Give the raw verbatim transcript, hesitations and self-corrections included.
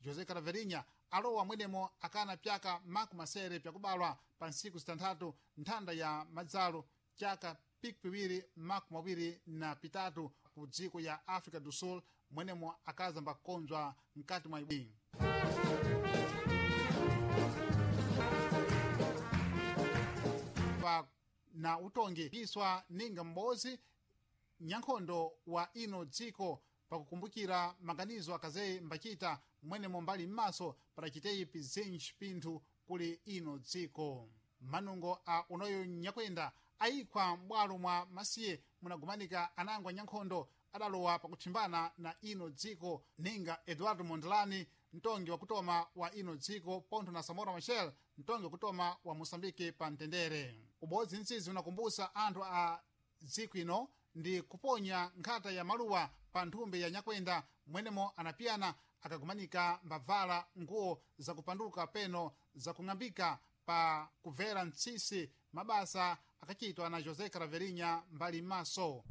José Caraverinha alowa mwenemo akana pyaka makumi masere pyakubalwa pa ntsiku zitanthatu nthanda ya madzalo chaka pikipiwiri makumi awiri na pitatu ku dziko ya Africa do Sul, mwenemo akazamba kukonzwa mkati mwa ibwi. Pa na utongi kiswa ninga m'bodzi nyankhondo wa ino dziko pakukumbukira maganizo akazeyi mbachita mwenemo mbali m'maso padachiteyi pizinji pinthu kuli ino dziko. Manungo a unoyo nyakwenda ayikhwa m'bwalo mwa masiye munagumanika anangwa nyankhondo adalowa pakuthimbana na ino dziko ninga Eduardo Mondlane, mtongi wakutoma wa ino dziko, pontho na Samora Machel, mtongi wakutoma wa Moçambique pa mtendere. Ubodzi mtsizi unakumbusa anthu a dziko ino ndi kuponya nkhata ya maluwa pa nthumbi ya nyakwenda mwenemo anapiyana akagumanika mbavala nguwo zakupanduka peno zakung'ambika pa kubvera mtsisi mabasa akachitwa na José Caraverinha mbali m'maso.